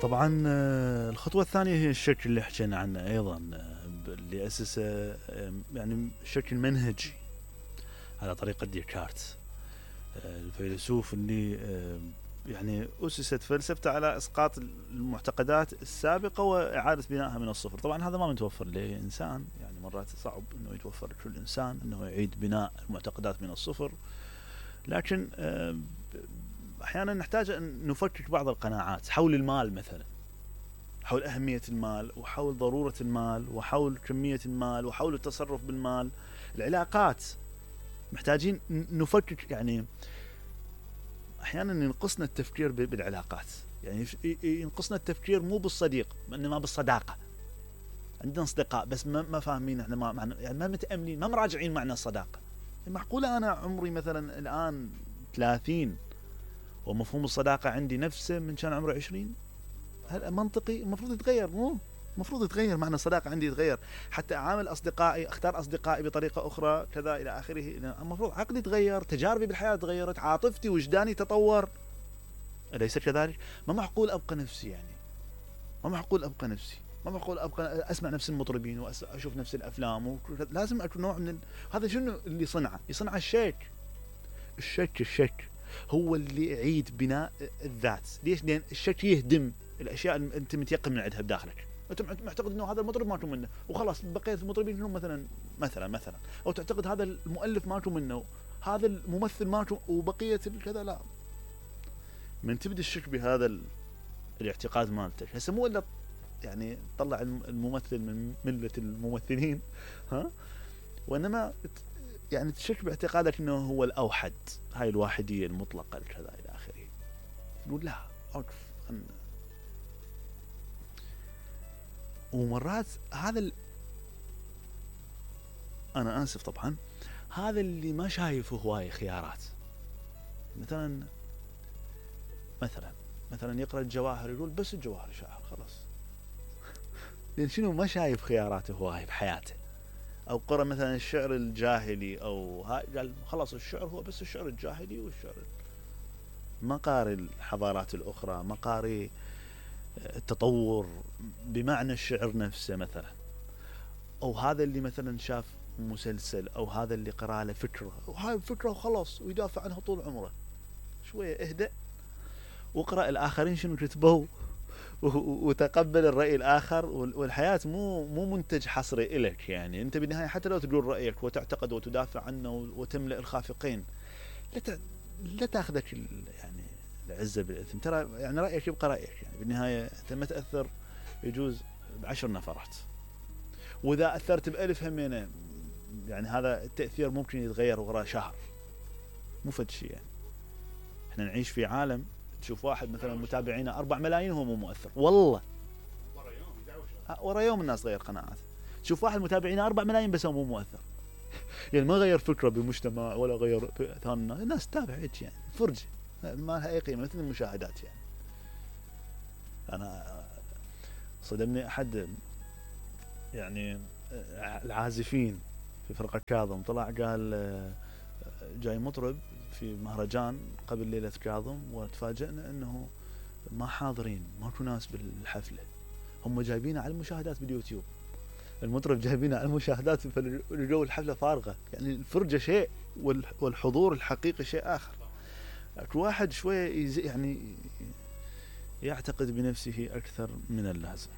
طبعا الخطوة الثانية هي الشكل اللي حكينا عنه أيضا، اللي أسسه يعني الشكل المنهجي على طريقة ديكارت، الفيلسوف اللي يعني أسست فلسفته على إسقاط المعتقدات السابقة وإعادة بنائها من الصفر. طبعا هذا ما متوفر لإنسان، يعني مرات صعب أنه يتوفر لكل إنسان أنه يعيد بناء المعتقدات من الصفر، لكن أحيانا نحتاج أن نفكك بعض القناعات حول المال مثلا، حول أهمية المال وحول ضرورة المال وحول كمية المال وحول التصرف بالمال، العلاقات محتاجين نفكك. يعني أحيانا ينقصنا التفكير بالعلاقات، يعني ينقصنا التفكير مو بالصديق إنما بالصداقة. عندنا أصدقاء بس ما فاهمين إحنا ما معنى، يعني ما متأملين، ما مراجعين معنى الصداقة. معقولة أنا عمري مثلا الآن 30 ومفهوم الصداقة عندي نفسه من كان عمره 20؟ هل منطقي؟ المفروض يتغير، مو المفروض يتغير معنى الصداقة عندي، يتغير حتى أعامل أصدقائي، أختار أصدقائي بطريقة أخرى كذا إلى آخره. المفروض عقلي يتغير، تجاربي بالحياة تغيرت، عاطفتي وجداني تطور، أليس كذلك؟ ما معقول أبقى نفسي، يعني ما معقول أبقى نفسي، ما معقول أبقى أسمع نفس المطربين وأشوف نفس الأفلام لازم أكون نوع من هذا. شنو اللي يصنع الشك هو اللي يعيد بناء الذات. ليش؟ لأن الشك يهدم الأشياء اللي أنت متيقن من عندها بداخلك. أنت معتقد إنه هذا المطرب ماكو منه وخلاص، بقية المطربين كلهم مثلا، أو تعتقد هذا المؤلف ماكو منه، هذا الممثل ماكو، وبقية كذا لا. من تبدأ الشك بهذا الاعتقاد مالتك، هسه مو إلا يعني طلع الممثل من ملة الممثلين، ها، وإنما يعني تشك باعتقادك انه هو الاوحد، هاي الواحدية المطلقة كذا الى اخره. نقول لا اوقف. ومرات هذا انا اسف طبعا، هذا اللي ما شايف هواي خيارات. مثلا يقرأ الجواهر يقول بس الجواهر شاعر خلاص. لان شنو؟ ما شايف خياراته هواي بحياته. او قرأ مثلا الشعر الجاهلي او قال خلاص الشعر هو بس الشعر الجاهلي، والشعر ما قاري الحضارات الاخرى، ما قاري التطور بمعنى الشعر نفسه مثلا. او هذا اللي مثلا شاف مسلسل، او هذا اللي قرأ له فكرة وهاي فكرة وخلاص ويدافع عنها طول عمره. شوية اهدأ واقرأ الاخرين شنو كتبوا وتقبل الرأي الآخر. والحياة مو منتج حصري إلك، يعني أنت بالنهاية حتى لو تقول رأيك وتعتقد وتدافع عنه وتملأ الخافقين، لا تأخذك يعني العزة بالإثم. ترى يعني رأيك يبقى رأيك، يعني بالنهاية أنت ما تأثر يجوز ب10 نفرات، وإذا أثرت ب1000 همينة، يعني هذا التأثير ممكن يتغير وراء شهر، مو فد شيء. يعني إحنا نعيش في عالم تشوف واحد مثلا متابعينه 4 ملايين وهو مو مؤثر، والله ورا يوم الناس غير قناعات. تشوف واحد متابعينه 4 ملايين بس هو مو مؤثر، يعني ما غير فكرة بالمجتمع ولا غير ثان الناس تتابع هيك، يعني فرجة ما لها أي قيمة مثل المشاهدات. يعني أنا صدمني أحد يعني العازفين في فرقة كاظم، طلع قال جاي مطرب في مهرجان قبل ليلة كاظم، وتفاجئنا انه ما حاضرين، ماكو ناس بالحفلة، هم جايبينه على المشاهدات باليوتيوب. المطرب جايبينه على المشاهدات، فالجو الحفلة فارغة. يعني الفرجة شيء والحضور الحقيقي شيء آخر. واحد شوية يعني يعتقد بنفسه أكثر من اللازم.